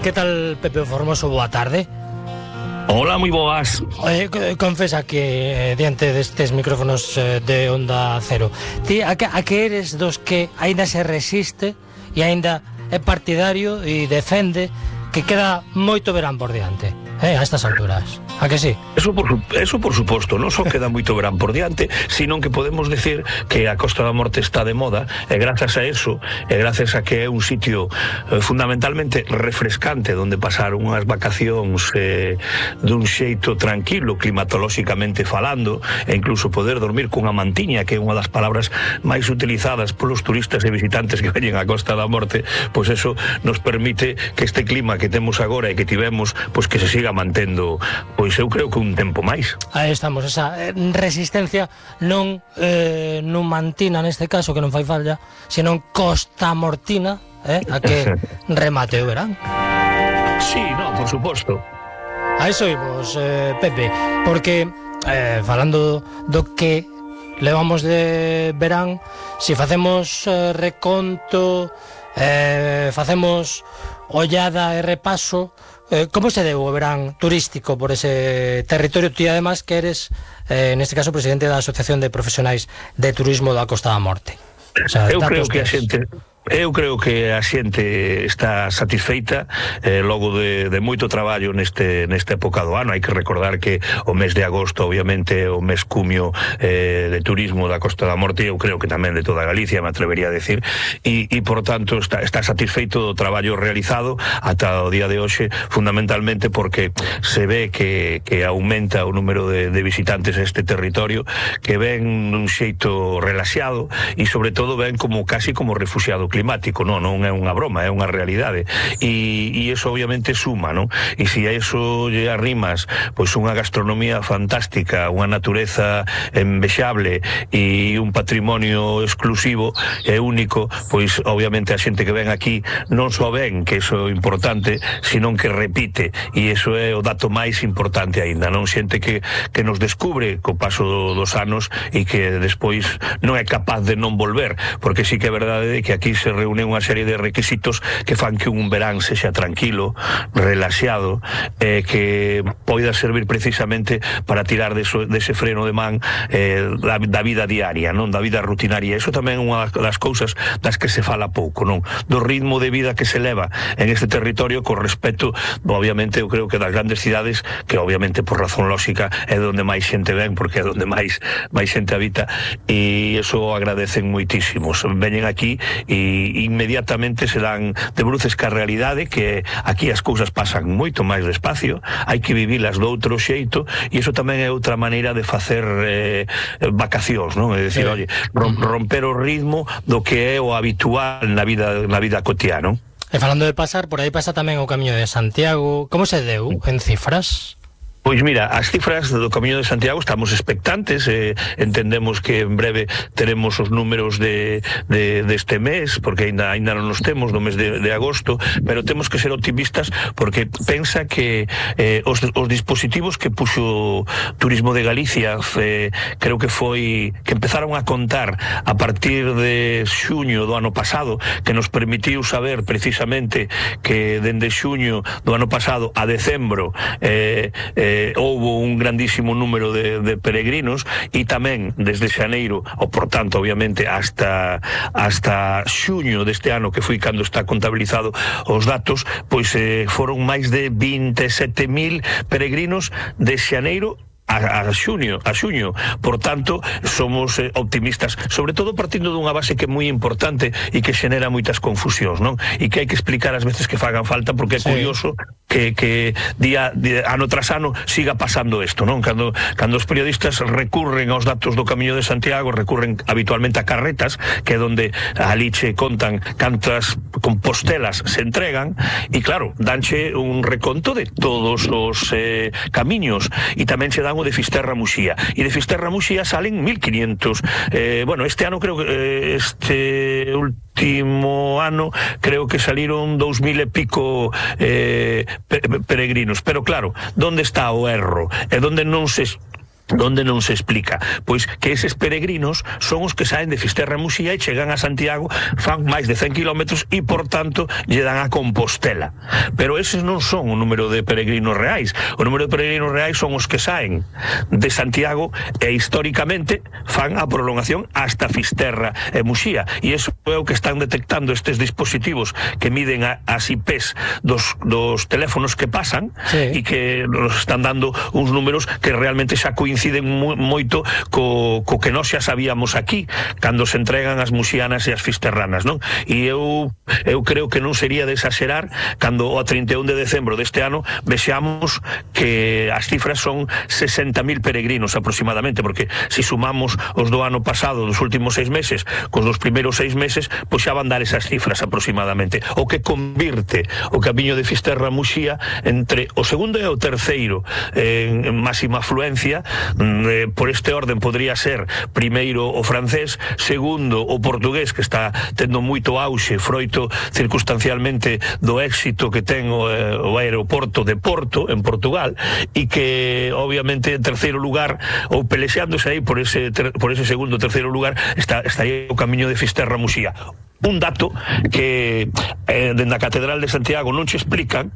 Que tal, Pepe Formoso? Boa tarde. Hola, moi boas. Confesa que diante destes micrófonos de Onda Cero, ti a que eres dos que aínda se resiste e aínda é partidario e defende que queda moito verán por diante, a estas alturas? A que sí? Eso por suposto, non só queda moito verán por diante, sino que podemos decir que a Costa da Morte está de moda, e grazas a eso, e grazas a que é un sitio fundamentalmente refrescante, onde pasar unhas vacacións dun xeito tranquilo, climatolóxicamente falando, e incluso poder dormir cunha mantiña, que é unha das palabras máis utilizadas polos turistas e visitantes que veñen a Costa da Morte, pois eso nos permite que este clima que temos agora e que tivemos, pois que se siga mantendo, pois eu creo que un tempo máis. Aí estamos, esa resistencia non numantina neste caso, que non fai falla, senón costamortina, a que remate o verán. Sí, no, por suposto. A iso imos, Pepe, porque falando do que levamos de verán, se facemos reconto, facemos ollada e repaso, como se deu o verán turístico por ese territorio? Ti además que eres, neste caso, presidente da Asociación de Profesionais de Turismo da Costa da Morte. O sea, Eu creo que a xente está satisfeita logo de moito traballo nesta época do ano. Hai que recordar que o mes de agosto obviamente o mes cumio de turismo da Costa da Morte, eu creo que tamén de toda Galicia, me atrevería a decir, e por tanto está satisfeito do traballo realizado ata o día de hoxe, fundamentalmente porque se ve que aumenta o número de visitantes a este territorio, que ven dun xeito relaxado e sobre todo ven como casi como refugiado climático. Non é unha broma, é unha realidade, e eso obviamente suma, non? E se a eso lle arrimas pois unha gastronomía fantástica, unha natureza envexable e un patrimonio exclusivo e único, pois obviamente a xente que ven aquí non só ven que iso é importante, sino que repite, e iso é o dato máis importante aínda, non? Xente que nos descubre co paso dos anos e que despois non é capaz de non volver, porque sí que é verdade que aquí se reúne unha serie de requisitos que fan que un verán sexa tranquilo, relaxado, que poida servir precisamente para tirar dese freno de man da vida diaria, non? Da vida rutinaria. Eso tamén é unha das cousas das que se fala pouco, non? Do ritmo de vida que se leva en este territorio con respecto, obviamente, eu creo que das grandes cidades, que obviamente por razón lógica é onde máis xente ven, porque é onde máis xente habita, e eso agradecen moitísimos. Veñen aquí e inmediatamente se dan de bruces ca realidade, que aquí as cousas pasan moito máis despacio, hai que vivilas do outro xeito, e iso tamén é outra maneira de facer vacacións, non? É dicir, oye, romper o ritmo do que é o habitual na vida cotiá, non? E falando de pasar, por aí pasa tamén o Camiño de Santiago. Como se deu en cifras? Pois mira, as cifras do Camiño de Santiago estamos expectantes, entendemos que en breve teremos os números deste mes, porque aínda non nos temos no mes de agosto, pero temos que ser optimistas, porque pensa que os dispositivos que puxo Turismo de Galicia, creo que foi que empezaron a contar a partir de xuño do ano pasado, que nos permitiu saber precisamente que dende xuño do ano pasado a decembro houbo un grandísimo número de peregrinos, e tamén desde xaneiro, ou por tanto obviamente hasta xuño deste ano, que foi cando está contabilizado os datos, pois foron máis de 27.000 peregrinos de xaneiro a xuño. Por tanto, somos optimistas, sobre todo partindo dunha base que é moi importante e que xenera moitas confusións, non? E que hai que explicar as veces que fagan falta, porque é curioso que ano tras ano siga pasando isto, non? Cando os periodistas recurren aos datos do Camiño de Santiago, recurren habitualmente a carretas, que é onde ali che contan cantas compostelas se entregan, e claro, danche un reconto de todos os camiños, e tamén se dan o de Fisterra Muxía, e de Fisterra Muxía salen 1500. Bueno, este ano creo que este último ano creo que saliron 2000 e pico peregrinos, pero claro, donde está o erro? E donde non se donde non se explica pois que eses peregrinos son os que saen de Fisterra e Muxía e chegan a Santiago, fan máis de 100 kilómetros e por tanto lle dan a Compostela, pero eses non son o número de peregrinos reais. O número de peregrinos reais son os que saen de Santiago e históricamente fan a prolongación hasta Fisterra e Muxía, e iso é o que están detectando estes dispositivos que miden as IPs dos teléfonos que pasan, e que nos están dando uns números que realmente xa coinciden moito co que nós xa sabíamos aquí cando se entregan as muxianas e as fisterranas, non? E eu creo que non sería de exagerar cando o 31 de decembro deste ano vexamos que as cifras son 60.000 peregrinos aproximadamente, porque se sumamos os do ano pasado, dos últimos 6 meses cos dos primeiros 6 meses, pois xa van dar esas cifras aproximadamente, o que convirte o camiño de Fisterra a Muxía entre o segundo e o terceiro en máxima afluencia. Por este orden podría ser primeiro o francés, segundo o portugués, que está tendo moito auxe froito circunstancialmente do éxito que ten o aeroporto de Porto en Portugal, e que obviamente en terceiro lugar, ou pelexeándose aí por ese segundo o terceiro lugar, está aí o camiño de Fisterra a Muxía. Un dato que dende a Catedral de Santiago non se explican,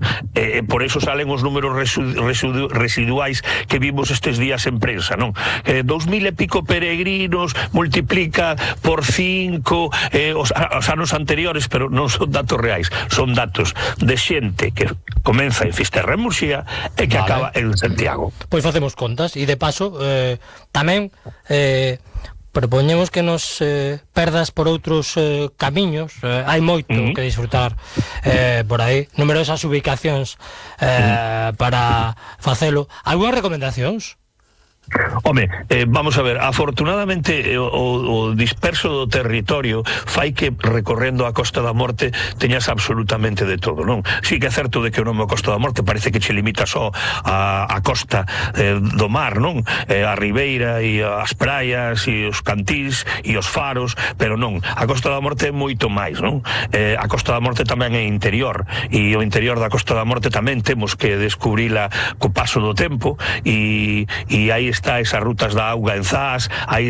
por eso salen os números residuais que vimos estes días en prensa, non? 2.000 e pico peregrinos, multiplica por 5 os anos anteriores, pero non son datos reais, son datos de xente que comeza en Fisterra e Muxía e que acaba en Santiago. Pois facemos contas, e de paso tamén propoñemos que nos perdas por outros camiños. Hai moito que disfrutar por aí, numerosas ubicacións para facelo. Algúnas recomendacións? Home, vamos a ver, afortunadamente o disperso do territorio fai que recorrendo a Costa da Morte teñas absolutamente de todo, non? Si que é certo de que o nome Costa da Morte parece que che limita só a costa do mar, non? A ribeira e as praias e os cantís e os faros, pero non, a Costa da Morte é moito máis, non? A Costa da Morte tamén é interior, e o interior da Costa da Morte tamén temos que descubrila co paso do tempo, e aí está esas rutas da auga en Zas, aí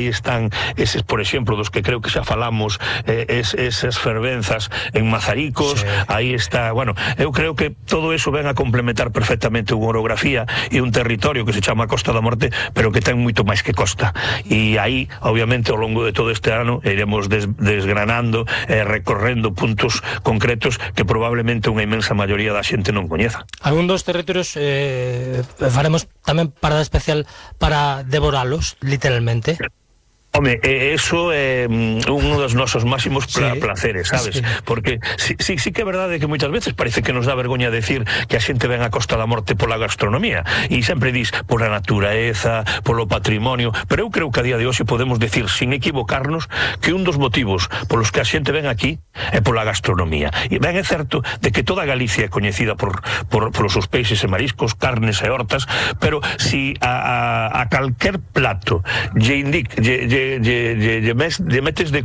están eses, por exemplo, dos que creo que xa falamos, esas fervenzas en Mazaricos, aí está, bueno, eu creo que todo eso ven a complementar perfectamente unha orografía e un territorio que se chama Costa da Morte, pero que ten moito máis que costa, e aí, obviamente, ao longo de todo este ano iremos desgranando e recorrendo puntos concretos que probablemente unha inmensa maioría da xente non coñeza. Algún dos territorios faremos tamén parada especial para devoralos, literalmente. Home, eso é un dos nosos máximos placeres, sabes? Porque sí que é verdade que moitas veces parece que nos dá vergoña decir que a xente ven a Costa da Morte pola gastronomía, e sempre dis pola natureza, polo patrimonio, pero eu creo que a día de hoxe podemos decir, sin equivocarnos, que un dos motivos polos que a xente ven aquí é pola gastronomía. E ben é certo de que toda Galicia é coñecida polos seus peixes e mariscos, carnes e hortas, pero si a calquer plato lle metes de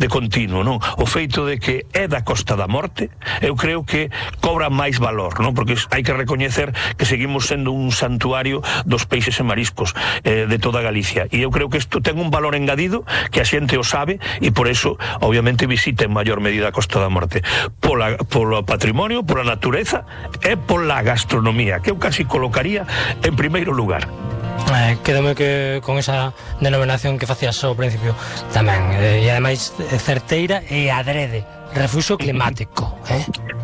continuo, non? O feito de que é da Costa da Morte, eu creo que cobra máis valor, non? Porque hai que recoñecer que seguimos sendo un santuario dos peixes e mariscos de toda Galicia, e eu creo que isto ten un valor engadido que a xente o sabe, e por eso obviamente visita en maior medida a Costa da Morte polo patrimonio, pola natureza e pola gastronomía, que eu casi colocaría en primeiro lugar. Quedome que con esa denominación que facías ao principio tamén, e ademais certeira e adrede, refuxo climático,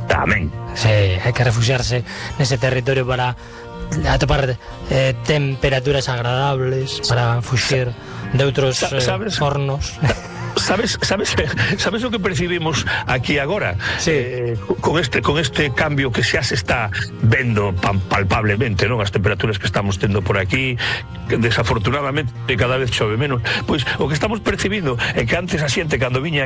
Tamén. Sí, hai que refuxiarse nese territorio para atopar temperaturas agradables, para fuxir de outros fornos. ¿Sabes o que percibimos aquí agora? Con este cambio que xa se está vendo palpablemente, non? As temperaturas que estamos tendo por aquí, que desafortunadamente cada vez chove menos. Pois o que estamos percibindo é que antes a xente cando viña